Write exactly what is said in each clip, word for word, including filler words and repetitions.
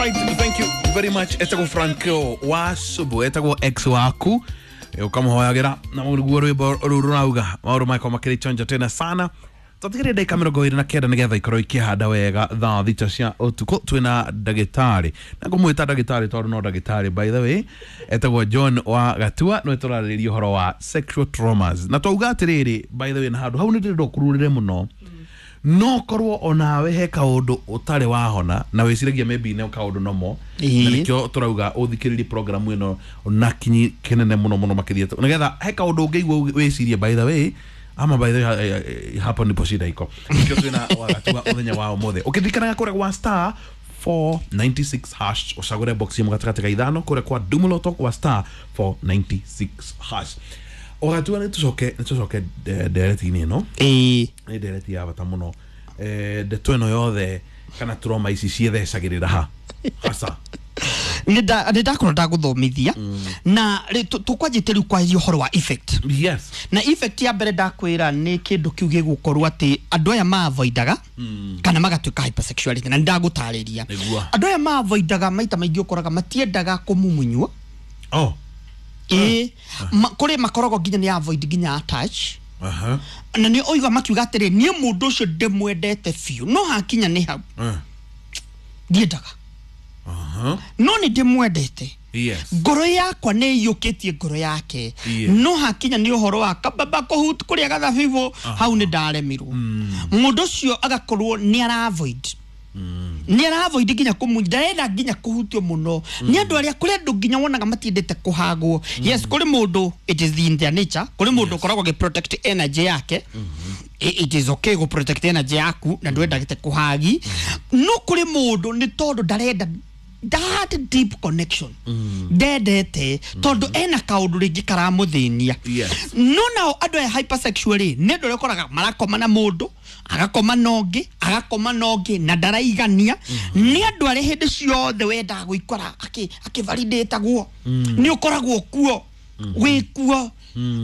Alright, thank you very much. Etagwo Franco wa Subu, etagwo ex waku. Ukamuhoyagira na ruguo rwimbo rũrũ rũrauga maũndũ makorwo makĩrĩ chonjo tena sana. Twatigĩrĩre ndagĩka mĩrongo ĩrĩ na kenda nĩgetha ikorwo ikĩhanda wega thaa thita cia ũtukũ. Twĩna ndagĩtarĩ na ngũmwĩta ndagĩtarĩ tondũ no ndagĩtarĩ, by the way, etagwo John wa Gatua, nĩwe tũrarĩrĩria ũhoro wa sexual traumas. Na twauga atĩrĩrĩ, by the way, na handũ hau nĩ ndĩrenda ũkururĩre mũno, no korwo onawe he kaũndũ ũtarĩ wahona na wĩciragia maybe nĩ kaũndũ nomo, na nĩkĩo tũrauga ũthikĩrĩrie program ĩno na kinyi kĩnene mũno mũno makĩria, nĩgetha he kaũndũ ũngĩigua wĩcirie, by the way, ama by the way, hapo ndipo shida iko. Nĩkĩo twĩna Wagatua mũthenya wa ũmũthĩ. Ũkĩririkanaga kũrĩa gwa star four ninety-six hash ũcagũre box ĩmwe gatagatĩ ka ithano kũrĩa kwa Dumoloto kwa star four ninety-six hash. Wagatua, nĩ tũcoke nĩ tũcoke ndereti-inĩ ĩno. Ĩĩ. Nĩ ndereti ya bata mũno. Eh, ndeto ĩno yothe kana trauma ici ciĩthecagĩrĩra ha hasa? Nĩ ndakorwo ndagũthomithia na tũkwanjĩte rĩu kwaria ũhoro wa effect. Yes. Na effect ya mbere ndakwĩra nĩ kĩndũ kĩu gĩgũkorwo atĩ andũ aya ma-avoidaga kana magatuĩka hypersexuality, na nĩndagũtarĩria. Andũ aya ma-avoidaga maita maingĩ ũkoraga matiendaga kũmumunywo. Oh. Ĩĩ, kũrĩ makoragwo nginya nĩ avoid nginya touch. Aha. Na nĩ oiga makiuga atĩrĩ, niĩ mũndũ ũcio ndĩmwendete biũ, no hakinya nĩ hau ndiendaga. Aha. No nĩ ndĩmwendete. Yes. Ngoro yakwa nĩ iyũkĩtie ngoro yake. Yes. No hakinya nĩ ũhoro wa kababa kũhut kũrĩa gathabibũ, hau nĩ ndaremirwo. Mũndũ ũcio agakorwo nĩ ara avoid. Nĩ ara avoid nginya kũmu, ndarenda nginya kũhutio mũno. Nĩ andũ arĩa kũrĩ andũ nginya wonaga matiendete kũhagwo. Yes, kũrĩ mũndũ it is in their nature, kũrĩ mũndũ ũkoragwo agĩ protect energy yake. It is okay gũ protect energy yaku na ndwendagĩte kũhagi. No kũrĩ mũndũ nĩ tondũ ndarenda that deep connection, ndendete tondũ ena kaũndũ rĩngĩ karamũthĩnia. Yes. No nao andũ aya hypersexual rĩ, nĩ andũ arĩa ũkoraga marakoma na mũndũ, agakoma na ũngĩ, agakoma na ũngĩ, na ndaraigania. Nĩ andũ arĩa hĩndĩ ciothe wendaga gũikara akĩvalidatagwo, nĩ ũkoragwo kuo, wĩ kuo.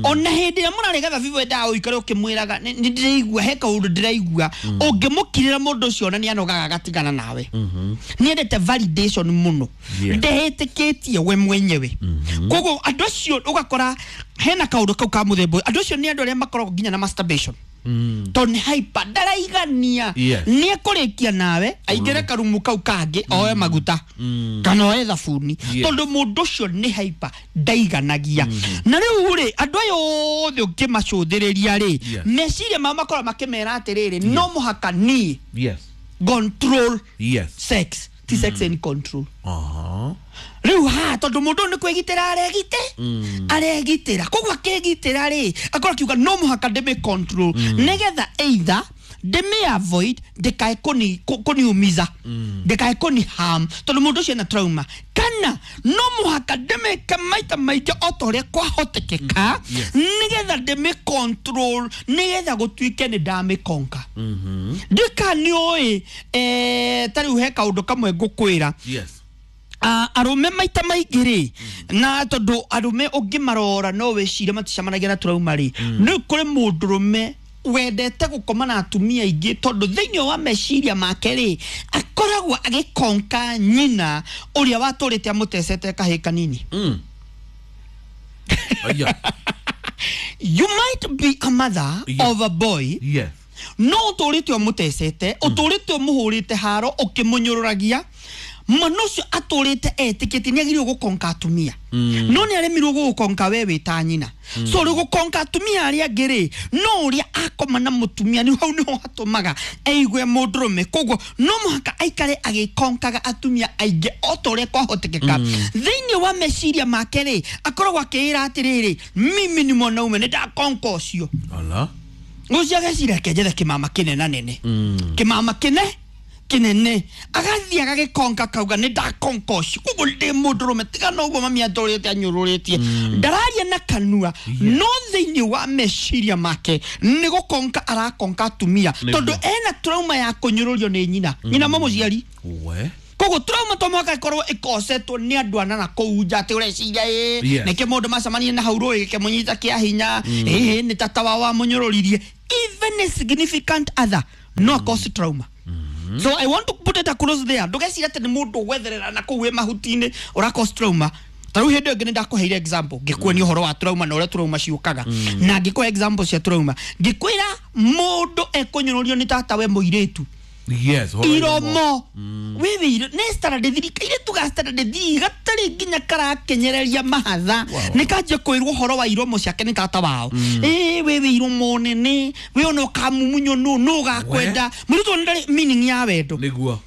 Ona hĩndĩ ĩrĩa mũrarĩ gathabibu wendaga ũikare ũkĩmwĩraga nĩ ndĩraigua he kaũndũ ndĩraigua. Ũngĩmũkirĩra mũndũ ũcio ona nĩ anogaga agatigana nawe. Nĩ endete validation mũno, ndehĩtĩkĩtie we mwenyewe. Koguo andũ acio ũgakora hena kaũndũ kau ka mũthemba ũyũ. Andũ acio nĩ andũ arĩa makoragwo nginya na masturbation, tondũ nĩ hyper, ndaraigania. Nĩ ekũrĩkia nawe aingĩre karumu kau kangĩ oe maguta kana oe thabuni, tondũ mũndũ ũcio nĩ hyper, ndaiganagia. Na rĩu rĩ, andũ aya othe ũngĩmacũthĩrĩria rĩ, meciria mao makoragwo makĩmera atĩrĩrĩ, no mũhaka niĩ control sex, ti sex and control. Rĩu haha tondũ mũndũ ũyũ nĩ kwĩgitĩra aregite aregitĩra, koguo akĩgitĩra rĩ, akorwo akiuga no mũhaka ndĩmĩ control nĩgetha either ndĩmĩ avoid ndĩkae kũniumiza, ndĩkae kũni harm, tondũ mũndũ ũcio ena trauma, kana no mũhaka ndĩmĩke maita maingĩ o ta ũrĩa kwahotekeka nĩgetha ndĩmĩ control, nĩgetha gũtuĩke nĩ ndamĩkonka. Ndĩka nĩ ũĩ, ta rĩu he kaũndũ kamwe ngũkwĩra. Yes. Arũme maita maingĩ rĩ, na tondũ arũme ũngĩmarora no wĩcirie maticemanagia na trauma rĩ, nĩ kũrĩ mũndũrũme wendete gũkoma na atumia aingĩ, tondũ thĩinĩ wa meciria make rĩ, akoragwo agĩkonka nyina ũrĩa watũrĩte amũtecete kahĩĩ kanini. You might be a mother of a boy. Yes. No ũtũrĩte ũmũtecete, ũtũrĩte ũmũhũrĩte haro ũkĩmũnyũrũragia. Mwana ũcio atũrĩte etĩkĩtie nĩ agĩrĩirwo gũkonka atumia, no nĩ aremirwo gũgũkonka we wĩ ta nyina. So rĩu gũkonka atumia arĩa angĩ rĩ, no ũrĩa akoma na mũtumia nĩ hau nĩho hatũmaga eigue mũndũrũme. Koguo no mũhaka aikare agĩkonkaga atumia aingĩ o ta ũrĩa kwahotekeka. Thĩinĩ wa meciria make rĩ, akoragwo akĩĩra atĩrĩrĩ, mimi ni mwanaume, nĩ ndakonka ũcio. Ũcio ageciria reke njethe kĩmama kĩnena nene, kĩmama kĩne kinene, agathiĩ agagĩkonka kauga nĩ ndakonka ũcio, koguo ndĩ mũndũrũme, tiga na ũguo mami atũrĩte anyũrũrĩtie. Ndararia na kanua, no thĩinĩ wa meciria make nĩ gũkonka arakonka atumia, tondũ ena trauma ya kũnyũrũrio nĩ nyina, nyina mũmũciari. Koguo trauma to mũhaka ĩkorwo ĩkosetwo nĩ andũ ana na kũu nja atĩ ũreciria ĩ nĩkĩ mũndũ macemanie na hau rũĩ gĩkĩmũnyita kĩa hinya, ĩ nĩ tata wao wamũnyũrũririe. Even a significant other no cause trauma. So I want to put it across there. Ndũgeciria atĩ nĩ mũndũ gwetherera na kũu wĩ mahuti-inĩ ũra trauma. Ta rĩu hĩndĩ ĩyo ngĩ nĩ example ngĩkuonia ũhoro wa trauma na ũrĩa trauma ciũkaga na ngĩkũhe example cia trauma ngĩkwĩra mũndũ ekũnyũrũrio nĩ tata we mũirĩtu. Yes, iromo wewe iro nĩ standard three kairĩtu ga standard three gatarĩ nginya karakenyereria mahatha nĩ kanjia kwĩrwo ũhoro wa iromo ciake nĩ tata wao. Ĩ wewe iromo nene we ona ũkamumunywo nũ nũ ũgakwenda mũirĩtu ndarĩ meaning ya wendo nĩguo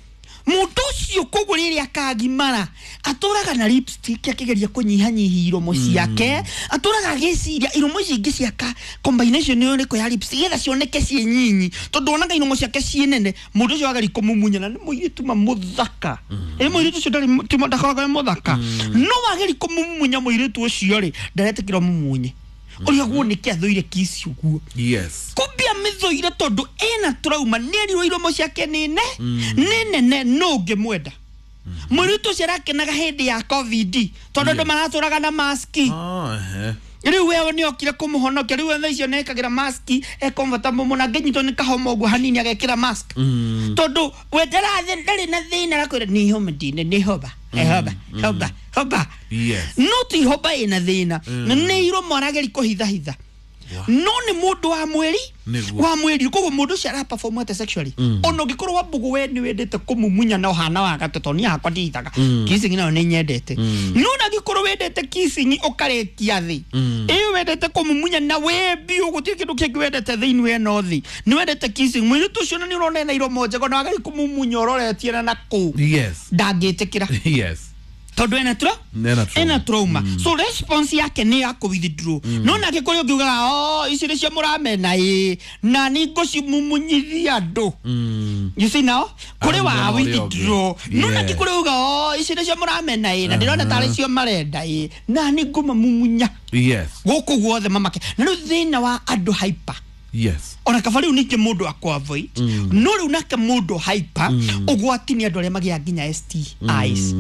mũndũ ũcio koguo rĩrĩa akagimara atũraga na lipstick akĩgeria kũnyihanyihia iromo ciake atũraga agĩciria iromo ici ingĩ ciaka combination ĩyo ĩrĩkũ ya lipstick getha cioneke ciĩ nyinyi tondũ wonaga iromo ciake ciĩ nene mũndũ ũcio wageri kũmumunya na nĩ mũirĩtu ma mũthaka ĩ mũirĩtu ũcio ndarĩ ndakoragwo e mũthaka no wageri kũmumunya mũirĩtu ũcio rĩ ndaretĩkĩra mũmunye ũrĩa guo nĩkĩ athũire kiss ũguo. Yes, kumbia mĩthũire tondũ ena trauma nĩerirwo iromo ciake nĩ ne nĩ nene no ũngĩmwenda mũirĩtu ũcio arakenaga hĩndĩ ya covid tondũ andũ maratũraga na maski. Rĩu wewe nĩ okire kũmũhonokia rĩu thaa icio nĩekagĩra maski e comfortable mũno angĩnyitwo nĩ kahoma ũguo hanini agekĩra mask tondũ we ndarĩ na thĩna arakwĩra nĩ homa ndine nĩ hoba hoba hoba hoba. No ti hoba ĩna thĩna nĩ iromo arageri kũhithahitha no nĩ mũndũ wa mwĩri wa mwĩri koguo mũndũ ũcio ara perform ate sexually ona ũngĩkorwo wa mbũgũ we nĩ wendete kũmumunya na ũhana wa gatũ tondũ niĩ hakwa ndihithaga kissing nayo nĩ nyendete no na angĩkorwo wendete kissing ũkarĩkia thĩ ĩyo wendete kũmumunya na wĩ biũ gũtirĩ kĩndũ kĩngĩ wendete thĩinĩ we no thĩ nĩ wendete kissing mũirĩtu ũcio na nĩ ũrona ena iromo njega na wageri kũmumunya ũroretie na nakũu ndangĩtĩkĩra. Yes, tondu ena tra ena trauma so response yake ni ya ku withdraw no nake kuri ungiugaga oh ici nicio muramena ĩ na ni ngũcimumunyithia andũ. You see now kuri wa withdraw no nake kuri uga oh ici nicio muramena ĩ na ndirona tarĩ cio marenda ĩ na ni ngũmamumunya. Yes, gũkũ guothe mamake na rĩu thĩna wa andũ hyper. Yes, ona kaba rĩu ningĩ mũndũ akũ avoid no rĩu nake mũndũ hyper ũgwati nĩ andũ arĩa magĩaga nginya S T Is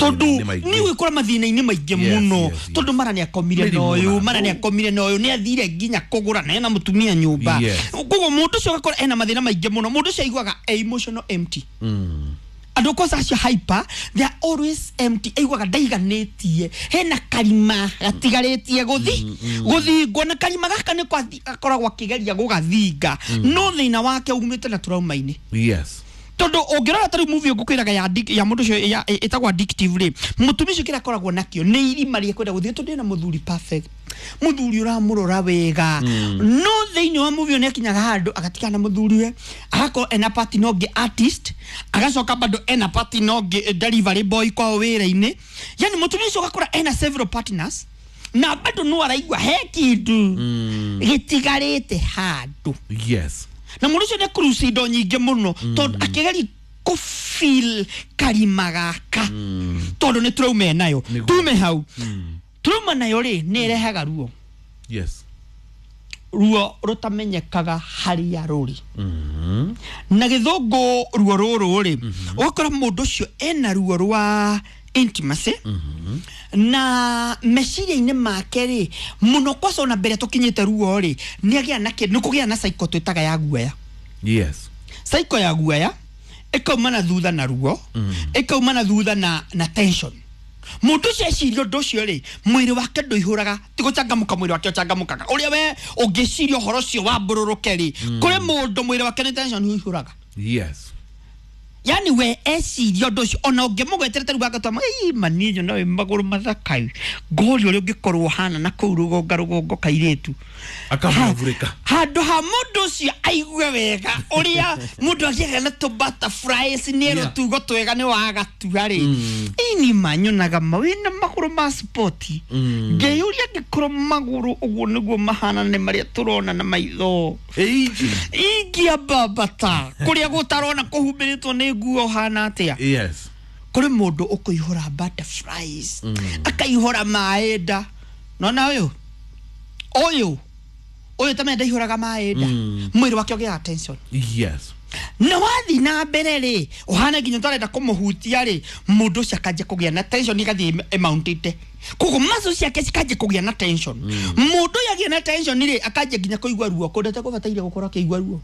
tondũ nĩ gwĩkora mathĩna-inĩ maingĩ mũno tondũ mara nĩ akomire na ũyũ mara nĩ akomire na ũyũ nĩ athire nginya kũgũra na ena mũtumia nyũmba koguo mũndũ ũcio agakora ena mathĩna maingĩ mũno mũndũ ũcio aiguaga emotional empty. Andũ kwanza acio hyper they are always empty aiguaga ndaiganĩtie hena karima gatigarĩtie gũthi gũthingwo na karima gaka nĩ akoragwo akĩgeria gũgathinga no thĩna wake umĩte na trauma-inĩ. Yes, tondũ ũngĩrora ta rĩu movie ngũkwĩraga ya ya mũndũ ũcio ĩtagwo addictive rĩ mũtumia ũcio kĩrĩa akoragwo nakĩo nĩ irima rĩa kwenda gũthiĩ tondũ ena mũthuri perfect mũthuri ũramũrora wega no thĩinĩ wa movie nĩ akinyaga handũ agatigana na mũthuri we agakorwo ena partner ũngĩ artist agacoka bado ena partner ũngĩ delivery boy kwao wĩra-inĩ yani mũtumia ũcio ũgakora ena several partners na bado no araigua he kĩndũ gĩtigarĩte handũ. Yes, na mũndũ ũcio nĩ cruise indo nyingĩ mũno tondũ akĩgeria kũ feel karima gaka tondũ nĩ trauma enayo tume hau trauma nayo rĩ nĩ ĩrehaga ruo. Yes, ruo rũtamenyekaga harĩa rũrĩ na gĩthũngũ ruo rũrũ rĩ ũgakora mũndũ ũcio ena ruo rwa intimacy na meciria-inĩ make rĩ mũno kwaca ona mbere tũkinyĩte ruo rĩ nĩ agĩa na nĩ kũgĩa na cycle twĩtaga ya guoya. Yes, cycle ya guoya ĩkauma na thutha na ruo ĩkauma na thutha na na tension mũndũ ũcio eciria ũndũ ũcio rĩ mwĩrĩ wake ndũihũraga ti gũcangamũka mwĩrĩ wake ũcangamũkaga ũrĩa we ũngĩciria ũhoro ũcio wambũrũrũke rĩ kũrĩ mũndũ mwĩrĩ wake nĩ tension ũihũraga. Yes, yani we eciria ũndũ ũcio ona ũngĩmũgweterete rĩu agatwama ĩ mani nyono wĩ magũrũ mathaka ngori ũrĩa ũngĩkorwo ũhana na kũu rũgonga rũgongo kairĩtu akamũvurĩka handũ ha mũndũ ũcio aigue wega ũrĩa mũndũ agĩaga na tũ butterflies nĩ rũtugo twega nĩ wagatua rĩ ini manyonaga ma wĩna magũrũ ma sport ngeyũria angĩkorwo magũrũ ũguo nĩguo mahana nĩ marĩa tũrona na maitho ingĩambambata kũrĩa gũtarona kũhumbĩrĩtwo nĩ nguo hana atĩa. Yes, kũrĩ mũndũ ũkũihũra butterflies akaihũra maĩ nda nona ũyũ ũyũ ũyũ ta menda ihũraga maĩ nda mwĩrĩ wake ũgĩaga tension. Yes, na wathi na mbere rĩ ũhana nginya ũtarenda kũmũhutia rĩ mũndũ ũcio akanjia kũgĩa na tension ĩgathiĩ ĩmountĩte koguo muscle ciake cikanjia kũgĩa na tension mũndũ ũyũ agĩa na tension rĩ akanjia nginya kũigua ruo kũndũ atekũbataire gũkorwo akĩigua ruo.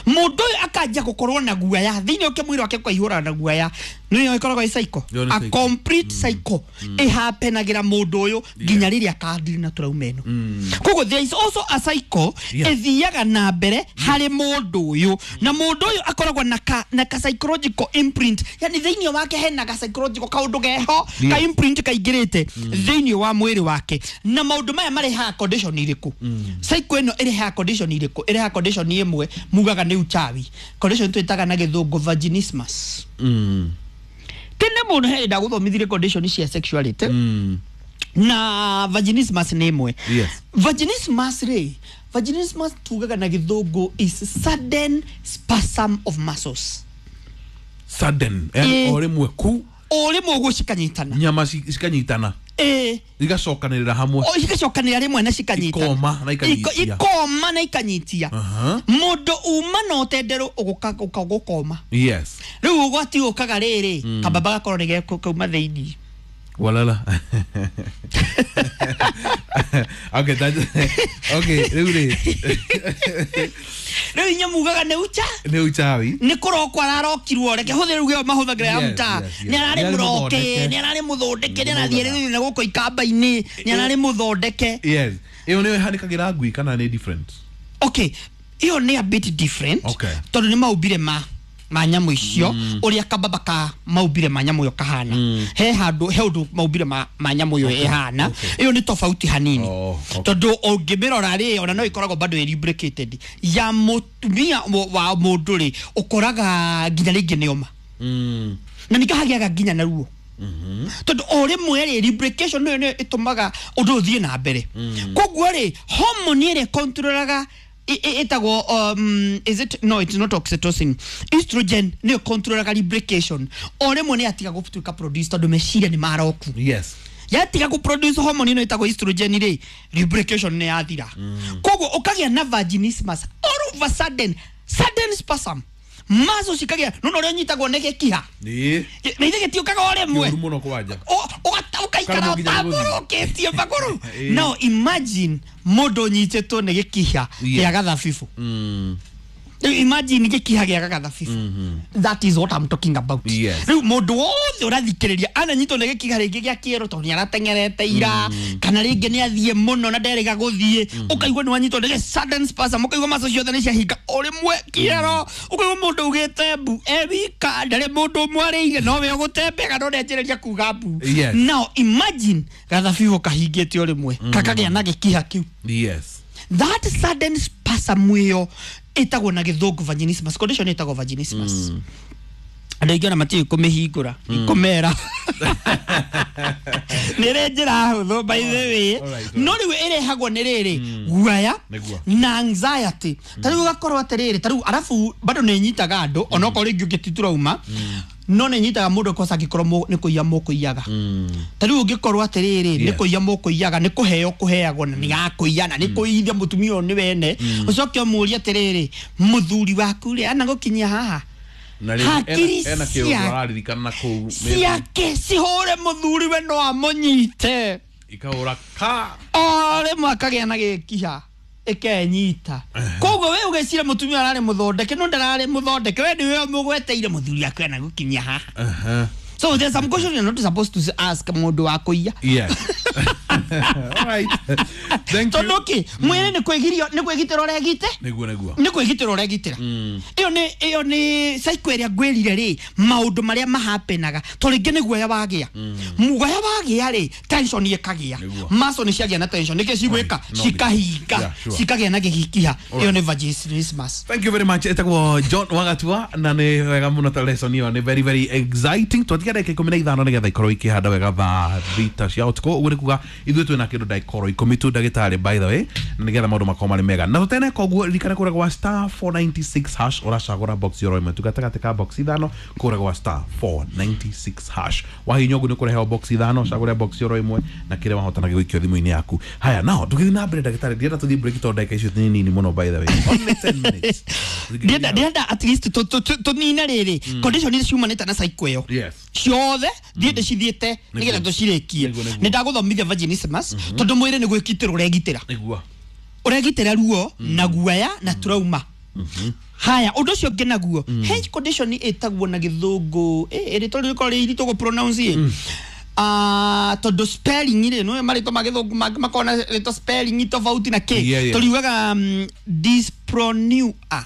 Mundu uyu akanjia gukorwo na guaya thiini uke mwiri wake ukaihura na guaya niyo ikoragwo i cycle, a complete cycle ihapenagira mundu uyu nginya riria akadiri na trauma ino. Koguo there is also a cycle ithiaga na mbere hari mundu uyu, na mundu uyu akoragwo na ka, na ka psychological imprint, yani thiini wake hena ka psychological kaundu geho ka imprint kaingirite thiini wa mwiri wake. Na maundu maya marehaga condition iriku? Cycle ino irehaga condition iriku? Irehaga condition imwe mugaga ni uchawi, condition twitaga na githungu vaginismus. Mm. Tene mundu he ndaguthomithirie condition cia sexuality. Mm. Na vaginismus ni imwe. Yes. Vaginismus ri, vaginismus tugaga na githungu is sudden spasm of muscles. Sudden, eh, ori mwe ku ori mwe gucikanyitana, nyama cikanyitana, eh, igacokanirira hamwe, o igacokanirira rimwe na cikanyitana, ikoma na ikanyitia, ikoma na ikanyitia. Mundu uma no tendero uguka gukoma. Yes. Riu ugwati ukaga riri kababa gakorwo ni gekuuma thiini. Walala. Okay, that okay, riu ri riu inya mugaga ni ucha ni uchawi ni kurokwa ararokirwo reke huthire ruge mahuthagira ya mta ni arari muroke ni arari muthondeke ni arathie riu na guko ikamba-ini ni arari muthondeke. Yes, iyo ni ihanikagira ngui kana ni different? Okay, iyo ni a bit different. Okay, tondu ni maumbire ma ma nyamu icio uria kababa ka maumbire ma nyamu yo kahana. He handu he undu maumbire ma ma nyamu yo ihana, iyo ni tofauti hanini. Tondu ungimirora ri ona no ikoragwo bado lubricated ya mutumia wa mundu ri ukoraga nginya ringi ni oma na nikahagiaga nginya na ruo. Tondu o rimwe ri lubrication niyo niyo itumaga undu uthie na mbere. Koguo ri hormone iri controlaga itagwo um is it no it's not oxytocin, estrogen niyo controlaga lubrication. O rimwe ni atiga gutuika produce tondu meciria ni maroku. Yes, yatiga ku produce hormone ino itagwo estrogen ri lubrication ni yathira. Koguo ukagia na vaginismus all of a sudden, sudden spasm maso cikagia no no nyitagwo nĩ gĩkiha ni nĩ ithe gĩtiũkaga o rĩmwe mũno kwanja ũgaikara ũtambũrũkĩtie magũrũ. Now imagine mũndũ ũnyitĩtwo nĩ gĩkiha gĩa gathabibu. Imagine gĩkiha gĩa gathabibu. That is what I'm talking about. Rĩu mũndũ wothe ũrathikĩrĩria ananyitwo nĩ gĩkiha rĩngĩ gĩa kĩero tondũ nĩarateng'erete ira kana rĩngĩ nĩathiĩ mũno na nderĩga gũthiĩ, ũkaigua nĩ wanyitwo nĩ sudden spasm, ũkaigua maco ciothe nĩ ciahinga o rĩmwe kĩero, ũkaigua mũndũ ugĩte mbu e wika ndarĩ mũndũ ũmwarĩire no we ũgũtembega no nĩanjĩrĩria kuga mbu. Now imagine gathabibu kahingĩte o rĩmwe kakagĩa na gĩkiha kĩu. Yes, that sudden spasm ĩyo itagwo na githungu vaginismus, condition itagwo vaginismus. Andũ aingĩ ona matiũĩ kũmĩhingũra ikomera nĩ rĩ njĩra hũthũ by the way, no rĩu ĩrehagwo nĩ rĩrĩ guaya na anxiety. Ta rĩu ũgakorwo atĩrĩrĩ, ta rĩu arabu bado nĩ ĩnyitaga andũ onokorwo rĩngĩ ũngĩ ti trauma, no nĩ ĩnyitaga mũndũ kosa angĩkorwo nĩ kũiya mũkũiyaga. Ta rĩu ũngĩkorwo atĩrĩrĩ nĩ kũiya mũkũiyaga, nĩ kũheo kũheagwo na nĩ gakũiya na nĩ kũiithia mũtumia ũyũ nĩ wene, ũcoke ũmũrie atĩrĩrĩ mũthuri waku rĩ anagũkinyia haha hakiri ciake cihũre mũthuri we no amũnyite ikahũra ka o rĩmwe akagĩa na gĩkiha ĩkenyita. Koguo we ũgecira mũtumia ararĩ mũthondeke no ndararĩ mũthondeke, we nĩwe mũgweteire mũthuri waku anagũkinyia haha. So there's some questions you're not supposed to ask mũndũ wa kũiya. Yes. All right. Thank you. Tondu ki mwiri ni kwigirio ni kwigitira uregite niguo niguo ni kwigitira uregitira. Iyo ni iyo ni cycle ĩrĩa ngwĩrire ri maundu maria mahapenaga to ringi ni guoya wagia guoya wagia ri tension ĩkagia muscle ni ciagia na tension niki cigwika cikahinga cikagia na gĩkiha. Iyo ni vaginismus. Thank you very much. Etagwo John Wagatua na ni wega muno ta lesson iyo ni very very exciting. Twatiga ndagĩka ikũmi na ithano nigetha ikorwo ikĩhanda wega thaa thita cia ũtukũ. Ũguo nĩ kuga ithuĩ twĩna kĩndũ ndagĩka ikũmi tu ndagĩtarĩ by the way, na nĩgetha maũndũ makorwo marĩ mega na tũtene. Koguo ririkana kũrĩa gwa star four ninety-six hash ũracagũra box yoro ĩmwe tu gatagatĩ ka box ithano kũrĩa gwa star four ninety-six hash wahinya ũguo nĩ kũreheo box ithano cagũre box yoro ĩmwe na kĩrĩa wahota na gĩgũikio thimũ-inĩ yaku. Haya nao tũgĩthiĩ na mbere ndagĩtarĩ, ndĩrenda tũthiĩ break tondũ ndagĩka icio nĩ nini mũno by the way, only ten minutes. Ndĩrenda ndĩrenda at least tũnine rĩrĩ condition iria ciumanĩte na cycle ĩyo. Yes, ciothe thiĩ ndĩcithiĩte nĩgetha tũcirĩkie. Nĩ ndagũthomithia vaginismus tondũ mwĩrĩ nĩ gwĩkitĩra ũregitĩra nĩguo ũregitĩra ruo na guoya na trauma. Haya undu ucio ũngĩ naguo he condition ĩtagwo na gĩthũngũ ĩ rĩtwa rĩkorwo rĩ iritũ gũ pronounce ah tondu spelling rĩ no marĩtwa ma gĩthũngũ mangĩ makorwo na rĩtwa spelling tofauti na kĩ Yeah, yeah. tũriugaga um, dyspronua.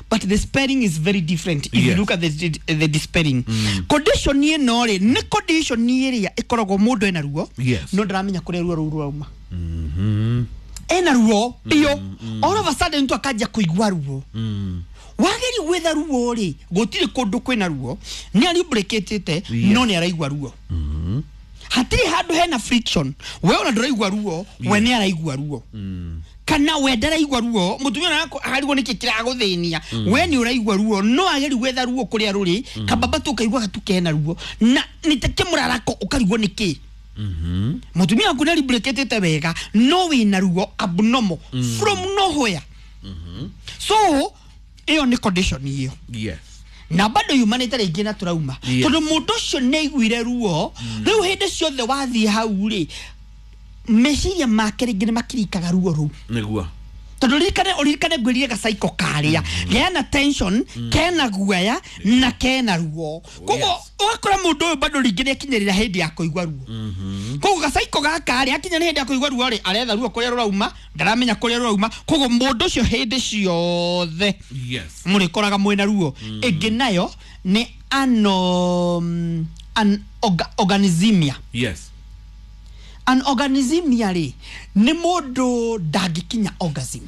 But the spelling is very different if Yes. you look at the, the, the spelling. Condition ĩno rĩ nĩ condition ĩrĩa ĩkoragwo mũndũ ena ruo Yes. no ndaramenya kũrĩa ruo rũu rwauma. Ena ruo biũ, all of a sudden tu akanjia kũigua ruo. Wageri gwetha ruo rĩ gũtirĩ kũndũ kwĩna ruo, nĩ arimbũrĩkĩtĩte Yes. no nĩ araigua ruo. Hatirĩ handũ hena friction, we ona ndũraigua ruo, we nĩ araigua ruo. Kana we ndaraigua ruo, mũtumia ona akarigwo nĩkĩ kĩragũthĩnia, we nĩ ũraigua ruo no ageri gwetha ruo kũrĩa rũrĩ, kababa tu ũkaigua tu kena ruo na nĩ ta kĩmũrarako ũkarigwo nĩkĩ. Mũtumia waku nĩ arimbũrĩkĩtĩte wega no wĩna ruo abnormal from nowhere. So ĩyo nĩ condition ĩyo Yes. na bado yumanĩte rĩngĩ na trauma. Yes. Tondũ mũndũ ũcio nĩ aiguire ruo rĩu hĩndĩ ciothe wathiĩ hau rĩ meciria make rĩngĩ nĩ makirikaga ruo rũu. Nĩguo. Tondũ ririkane ũririkane ngwĩrire gacaiko karĩa kena tension, kena guoya na kena ruo. Koguo yes. ũgakora mũndũ ũyũ bado rĩngĩ nĩ akinyĩrĩra hĩndĩ ya kũigua ruo. Koguo gacaiko gaka rĩ akinya nĩ hĩndĩ ya kũigua ruo rĩ aretha ruo kũrĩa rũrauma, ndaramenya kũrĩa rũrauma. Koguo mũndũ ũcio hĩndĩ ciothe Yes. mũrĩkoraga mwĩna ruo. Ĩngĩ nayo nĩ ano an orga, organismia. Yes. An organismia rĩ nĩ mũndũ ndangĩkinya orgasm.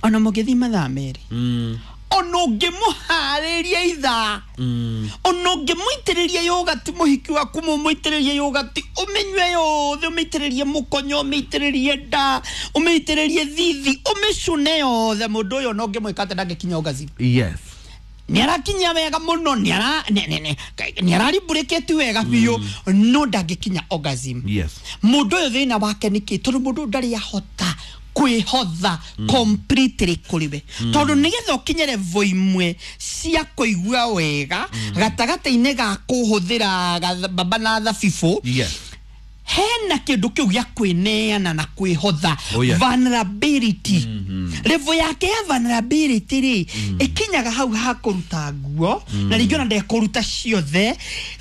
Ona mũngĩthiĩ mathaa merĩ, Mm. ona ũngĩmũharĩria ithaa, Mm. ona ũngĩmũitĩrĩria yogati mũhiki waku mũmũitĩrĩrie yogati ũmĩnyue yothe, ũmĩitĩrĩrie mũkonyo, ũmĩitĩrĩrie nda, ũmĩitĩrĩrie thithi, ũmĩcune yothe, mũndũ ũyũ ona ũngĩmwĩka atĩa ndangĩkinya orgasm. Yes. Nĩ arakinya wega mũno, nĩ ara nĩ- nĩ- nĩ- nĩ ararimbũrĩkĩte wega biũ no ndangĩkinya orgasm. Yes. Mũndũ ũyũ thĩna wake nĩ kĩ? Tondũ mũndũ ũyũ ndarĩ ahota kwĩhotha completely kũrĩ we. Tondũ nĩgetha ũkinye level imwe cia kũigua wega gatagatĩ-inĩ ga kũhũthĩra gatha- baba na thabibũ, Yes. hena kĩndũ kĩu gĩa kwĩneana na kwĩhotha. Oh, yes. Vulnerability. Level yake ya vulnerability rĩ ĩkinyaga hau ha kũruta nguo na rĩngĩ ona ndekũruta ciothe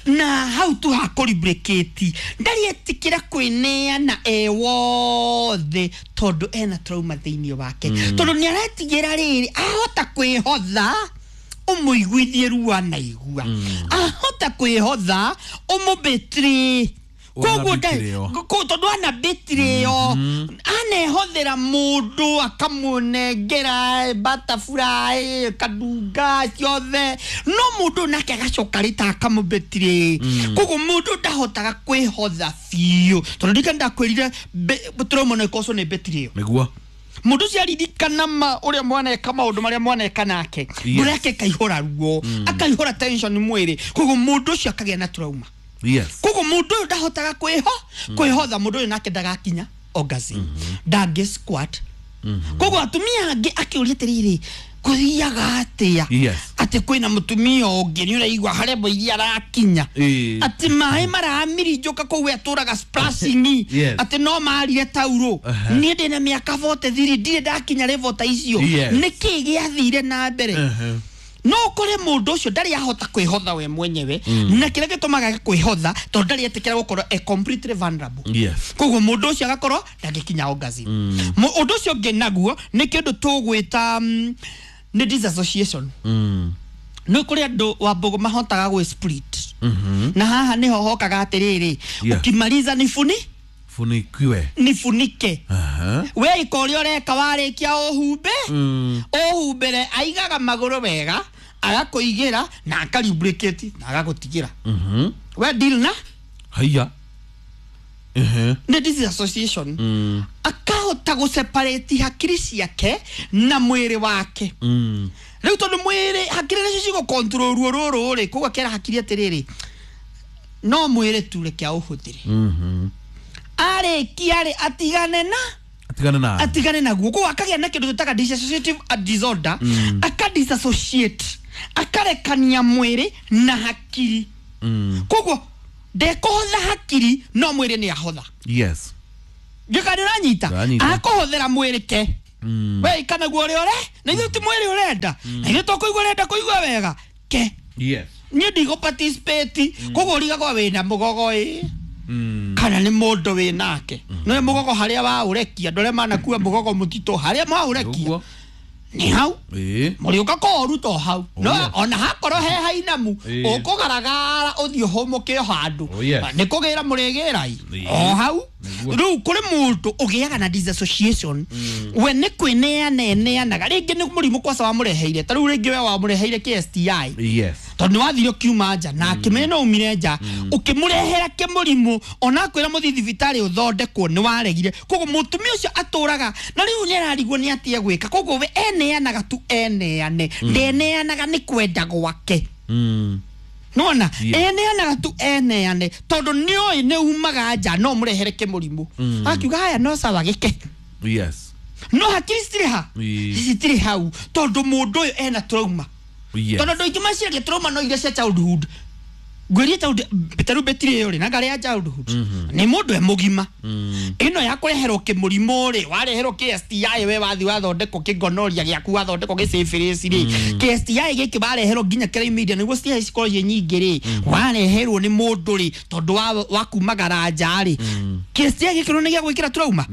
na hau tu ha kũlubricate, ndarĩ etĩkĩra kwĩneana e wothe tondũ ena trauma thĩinĩ wake. Tondũ nĩ aretigĩra rĩrĩ ahota kwĩhotha ũmũiguithie ruo anaigua, ahota kwĩhotha ũmũbetray. Koguo nda- Wanabĩtĩrĩo. ko- tondũ anabĩtirĩo anehothera mũndũ akamũnengera butterfly kadunga ciothe no mũndũ nake agacoka rĩta akamũbĩtirĩ. Koguo mũndũ ndahotaga kwĩhotha biũ tondũ ndirikana ndakwĩrire trauma no ĩkoco nĩ mbĩtirĩo. Nĩguo. Mũndũ ũcio aririkana ma ũrĩa mwaneka maũndũ marĩa mwaneka nake, Yes. ngoro yake ĩkaihũra ruo, akaihũra tension mwĩrĩ. Koguo mũndũ ũcio akagĩa na trauma. Yes. Koguo mũndũ ũyũ ndahotaga kwĩho kwĩhotha, mũndũ ũyũ nake ndagakinya orgasm, ndangĩ squat. Koguo atumia angĩ akĩũria atĩrĩrĩ kũthiaga atĩa Yes. atĩ kwĩna mũtumia ũngĩ nĩ ũraigua harĩa mbo iria arakinya, Ĩĩ. atĩ maĩ maramirinjũka kũu we atũraga splashing, Yes. atĩ no marire taurũ. Aha. Niĩ ndĩna mĩaka forty three ndirĩ ndakinya level ta icio. Yes. Nĩkĩ gĩathire na mbere? Uh-huh. No ũkore mũndũ ũcio ndarĩ ahota kwĩhotha we mwenyewe, na kĩrĩa gĩtũmaga age kwĩhotha tondũ ndarĩ etĩkĩra gũkorwo e completely vulnerable. Yes. Koguo mũndũ ũcio agakorwo ndangĩkinya orgasm. Mu- ũndũ ũcio ũngĩ naguo nĩ kĩndũ tũgwĩta mm, nĩ disassociation. Mm. Nĩ kũrĩ andũ wambũgũ mahotaga gwĩ split, na haha nĩho hokaga atĩrĩrĩ, Yeah. ukimaliza nifuni Funikiwe. nifunike. Aha. We ika ũrĩa ũreka warĩkia ũhumbe Mm. ũhumbĩre, aigaga magũrũ wega agakũigĩra na akalubricate na agagũtigĩra. Mhm. We deal na Haiya. Ehe. nĩ disassociation. Mm. Akahota gũseparate hakiri ciake na mwĩrĩ wake. Mm. Rĩu tondũ mwĩrĩ hakiri nacio cigũcontrol ruo rũrũ rĩ, koguo akera hakiri atĩrĩrĩ no mwĩrĩ tu reke aũhũthĩre. Mhm. Arĩkia rĩ atigane na Atigane na. atigane naguo. Koguo akagĩa na kĩndũ tũtaga dissociative disorder, aka disassociate, akarekania mwĩrĩ na hakiri. Mm. Koguo ndekũhotha hakiri no mwĩrĩ nĩ ahotha. Yes. Ngĩka nĩ ũranyita? Ndĩranyita. Akũhũthĩra mwĩrĩ ke We ikana guo ũrĩa ũre na ithuĩ ti mwĩrĩ ũrenda na ithuĩ tũkũigua ũrenda kũigua wega ke. Yes. Niĩ ndigũ participate koguo ũrigagwo wĩna mũgogo ĩ kana nĩ mũndũ wĩ nake nĩ mũgogo harĩa waũrekia andũ arĩa manakua mũgogo mũtitũ harĩa mwaũrekia nĩ hau mũrĩũka kũũruta o hau no ona hakorwo he hainamu ũkũgaragara ũthiĩ ũhũmũke o handũ nĩ kũgĩra mũrĩgĩra o hau. Rĩu kũrĩ mũndũ ũgĩaga na disassociation we nĩ kwĩneana eneanaga rĩngĩ nĩ mũrimũ kwaca wamũreheire ta rĩu rĩngĩ we wamũreheire K S T I. Yes. Tondũ nĩ wathire ũkiuma nja na akĩmenya no umire nja ũkĩmũrehera kĩmũrimũ ona akwĩra mũthiĩ thibitarĩ ũthondekwo nĩ waregire. Koguo mũtumia ũcio atũraga na rĩu nĩ ararigwo nĩ atĩa gwĩka koguo we eneanaga tu eneane ndeneanaga nĩ kwenda gwake. Nona eneanaga tu eneane tondũ nĩoĩ nĩ umaga nja no mũrehere kĩmũrimũ akiuga haya no sawa gĩke. Yes. No hakiri citirĩ ha citirĩ hau tondũ mũndũ ũyũ ena trauma. Yes. Tondũ andũ aingĩ meciragia trauma no iria cia childhood ngwĩrie childhood ta rĩu betiri ĩyo rĩ na ngarĩ ya childhood nĩ mũndũ e mũgima ĩno ya kũreherwo kĩmũrimũ rĩ wareherwo K S T I we wathi wathondekwo kĩgonoria gĩaku wathondekwo gĩsyphilis rĩ K S T I gĩkĩ wareherwo nginya chlamydia nĩguo S T I cikorwo ciĩ nyingĩ rĩ wareherwo nĩ mũndũ rĩ tondũ wa kumagara nja rĩ K S T I gĩkĩ nĩ gĩa gwĩkĩra trauma.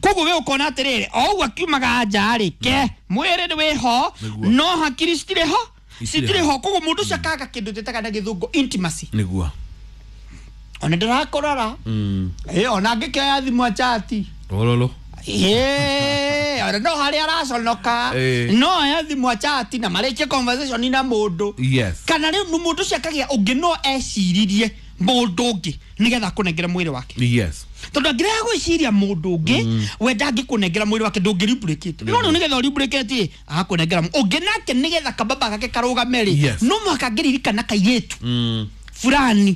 Koguo we ũkona atĩrĩrĩ o ũguo akiumaga nja rĩ ke mwĩrĩ nĩ wĩho no hakiri citirĩ ho citirĩ ho. Koguo mũndũ ũcio akaga kĩndũ twĩtaga na gĩthũngũ intimacy. Nĩguo ona ndĩrakũrora ĩ ona angĩkĩoya thimũ achati ololo ĩ ona no harĩa araconoka no oya thimũ achati na marĩkie conversation na mũndũ. Yes. Kana rĩu mũndũ ũcio akagĩa ũngĩ no eciririe mũndũ ũngĩ nĩgetha akũnengere mwĩrĩ wake. Yes. Tondũ angĩrega gwĩciria mũndũ ũngĩ we ndangĩkũnengera mwĩrĩ wake ndũngĩreplicate. No rĩu nĩgetha ũreplicate agakũnengera ũngĩ nake nĩgetha kababa gake karũgame rĩ no mũhaka angĩririkana kairĩtu fulani.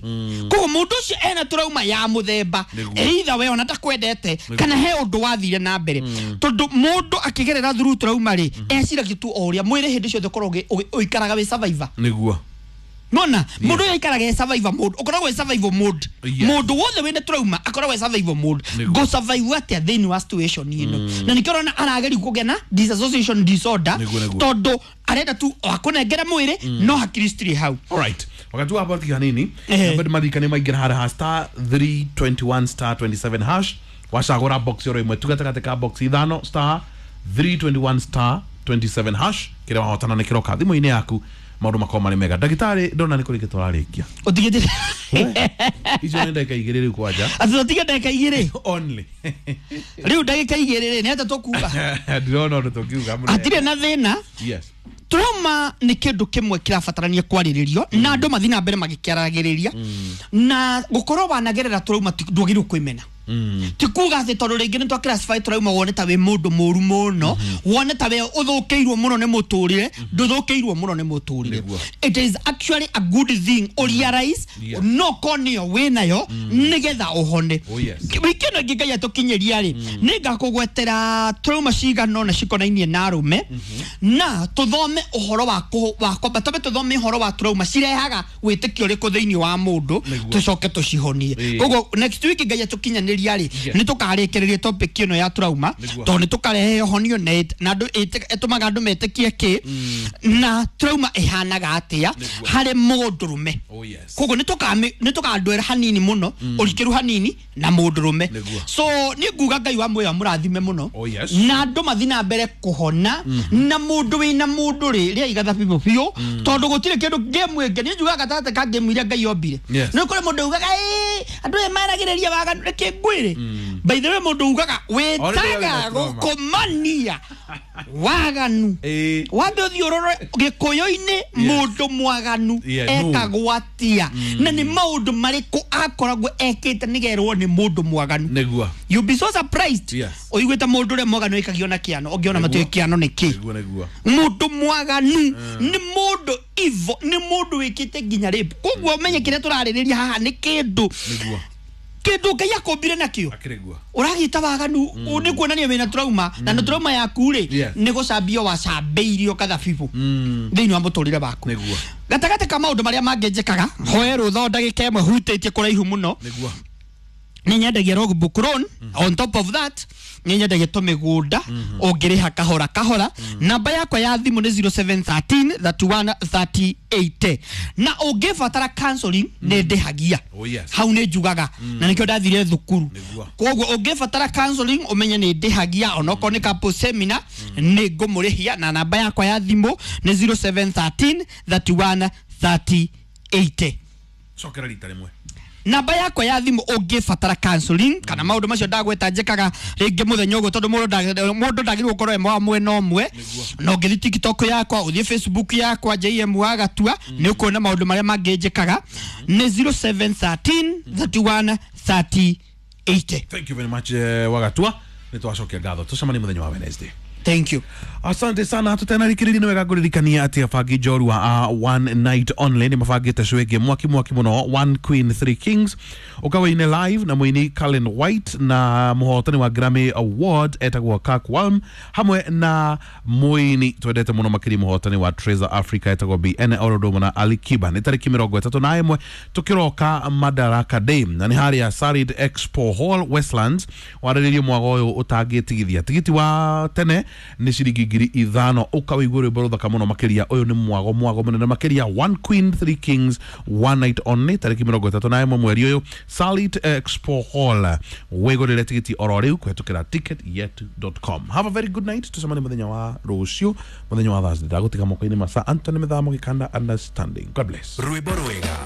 Koguo mũndũ ũcio ena trauma ya mũthemba either we ona takwendete kana he ũndũ wathire na mbere tondũ mũndũ akĩgerera through trauma rĩ eciragia tu o ũrĩa mwĩrĩ hĩndĩ ciothe ũkoragwo ũikaraga wĩ survivor. Nĩguo. Nona mũndũ ũyũ aikaraga e survivor mode ũkoragwo e survival mode mũndũ wothe wĩna trauma akoragwo e survival mode go survive atĩa thĩinĩ wa situation ĩno na nĩkĩo ũrona arageria kũgĩa na disassociation disorder tondũ arenda tu akũnengera mwĩrĩ no hakiri citirĩ hau. Alright. Wakati wa hapa hanini namba maririkane maingĩra harĩa star three twenty-one star twenty-seven hash wacagũra box ĩro ĩmwe tu gatagatĩ ka box ithano star three twenty-one star twenty-seven hash kĩrĩa wahotana nĩ kĩroka thimũ-inĩ yaku maũndũ makorwo marĩ mega. Ndagĩtarĩ ndona nĩ kũrĩkia tũrarĩkia ũtigĩte icio nĩ ndagĩka igĩrĩ rĩu kwanja atĩ ũtige ndagĩka igĩrĩ only rĩu ndagĩka igĩrĩ rĩ nĩ atĩa tũkuga ndĩrona ũndũ tũngiuga mũno hatirĩ na thĩna. Yes. Trauma nĩ kĩndũ kĩmwe kĩrabatarania kwarĩrĩrio na andũ mathiĩ na mbere magĩkĩaragĩrĩria na gũkorwo wanagerera trauma ndwagĩrĩirwo kwĩmena. Ti kuga atĩ tondũ rĩngĩ nĩ twa classify trauma wone ta wĩ mũndũ mũru mũno wone ta we ũthũkĩirwo mũno nĩ mũtũrĩre ndũthũkĩirwo mũno nĩ mũtũrĩre. It is actually a good thing o realize no konio wĩnayo nĩgetha ũhone. Wiki ĩno ĩngĩ Ngai atũkinyĩria rĩ nĩ ngakũgwetera trauma cigana ũna cikonainie na arũme na tũthome ũhoro wa wa kwamba twambe tũthome ũhoro wa trauma cirehaga wĩtĩkio ũrĩkũ thĩinĩ wa mũndũ tũcoke tũcihonie. Koguo next week Ngai atũkinyanĩria rĩ nĩ tũkarĩkĩrĩria topic ĩno ya trauma tondũ nĩ tũkarehe ũhonio na andũ ĩtũmaga andũ metĩkie kĩ na trauma ĩhanaga atĩa harĩ mũndũrũme. Koguo nĩ tũkandwĩra hanini mũno ũrikĩru hanini na mũndũrũme. So nĩ nguga Ngai wa muoyo amũrathime mũno na andũ mathiĩ na mbere kũhona na mũndũ wĩna mũndũ rĩ rĩa igatha biũ biũ tondũ gũtirĩ kĩndũ game ĩngĩ niĩ njugaga gatagatĩ ka game iria Ngai ombire nĩ kũrĩ mũndũ ugaga ĩ andũ aya maragĩrĩria waganu reke ngwĩre. By the way mũndũ ugaga wĩtaga gũkomania waganu wambe ũthiĩ ũrore gĩkũyũ-inĩ mũndũ mwaganu ekagwo atĩa na nĩ maũndũ marĩkũ akoragwo ekĩte nĩgerwo nĩ mũndũ mwaganu. Nĩguo. You be so surprised ũiguĩte mũndũ ũrĩa mwaganu aikagio na kĩano ũngĩona matiũĩ kĩano nĩ kĩ. Mũndũ mwaganu nĩ mũndũ evil nĩ mũndũ wĩkĩte nginya rape. Koguo ũmenye kĩrĩa tũrarĩrĩria haha nĩ kĩndũ kĩndũ Ngai akũmbire nakĩo ũragĩta waganu nĩ kuonania wĩna trauma na nĩ trauma yaku rĩ nĩ gũcambio wacambĩirio kathabibu thĩinĩ wa mũtũrĩre waku. Gatagatĩ ka maũndũ marĩa mangĩ njĩkaga hoe rũtha ndagĩka ĩmwe hutĩtie kũraihu mũno nĩ nyendagia logbook loan. On top of that Nĩ nyendagia tũmĩgũnda ũngĩrĩha kahora kahora. Namba yakwa ya thimũ nĩ zero seven thirteen thirty one thirty eight. Na ũngĩbatara counseling nĩ ndĩhagia. Oh, yes. Hau nĩ njugaga na nĩkĩo ndathire thukuru. Nĩguo. Koguo ũngĩbatara counseling ũmenye nĩ ndĩhagia, onokorwo nĩ couple seminar nĩ ngũmũrĩhia, na namba yakwa ya thimũ nĩ zero seven thirteen thirty one thirty eight. Cokera rita rĩmwe. Namba yakwa ya thimũ ũngĩbatara counseling kana maũndũ macio ndagweta njĩkaga rĩngĩ mũthenya ũguo, tondũ mũndũ mũndũ ndagĩrĩirwo gũkorwo e wa mwena ũmwe. Na ũngĩthiĩ TikTok yakwa, ũthiĩ Facebook yakwa J M Wagatua, nĩ ũkuona maũndũ marĩa mangĩ njĩkaga. Nĩ zero seven thirteen thirty one thirty eight. Thank you very much, eh, Wagatua. Nĩ twacokia ngatho, tũcemanie mũthenya wa Wednesday. Thank you. Asante sana. Tutenarikiriria nĩ wega ngũririkania atĩ abangi njorua a One Night Only nĩ mabangĩte show ĩngĩ mwaki mwaki mũno, One Queen Three Kings, ũkawaine live na mũini Cullen White na mũhotani wa Grammy Award etagwo Kirk Walm, hamwe na mũini twendete mũno makĩria mũhotani wa Treasure Africa etagwo B N Orodomo na Ali Kiba. Nĩ tarĩki mĩrongo ĩtatũ na ĩmwe tũkĩroka Madaraka Day, na nĩ harĩa Sarid Expo Hall Westlands. Warĩrĩrie mwago ũyũ ũtangĩtigithia. Tigiti wa tene nĩ ciringi ngiri ithano. Ũkawĩigua rwĩmbo rũthaka mũno makĩria. Ũyũ nĩ mwago mwago mũnene makĩria, One Queen Three Kings One Night Only, tarĩki mĩrongo ĩtatũ na ĩmwe mweri ũyũ, Salit Expo Hall. Wĩgũrĩre tigiti oro rĩu kũhetũkĩra ticket yet dot com. Have a very good night. Tũcemanie mũthenya wa rũciũ, mũthenya wa Thursday. Ndagũtiga moko-inĩ ma Sir Anthony Mĩthamo Gĩkanda Understanding. God bless. Rwĩmbo rwega,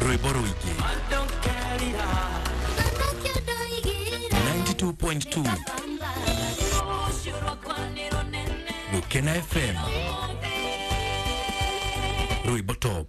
rwĩmbo rũingĩ, ninety-two point two Gukena F M, Rwĩmbo Top.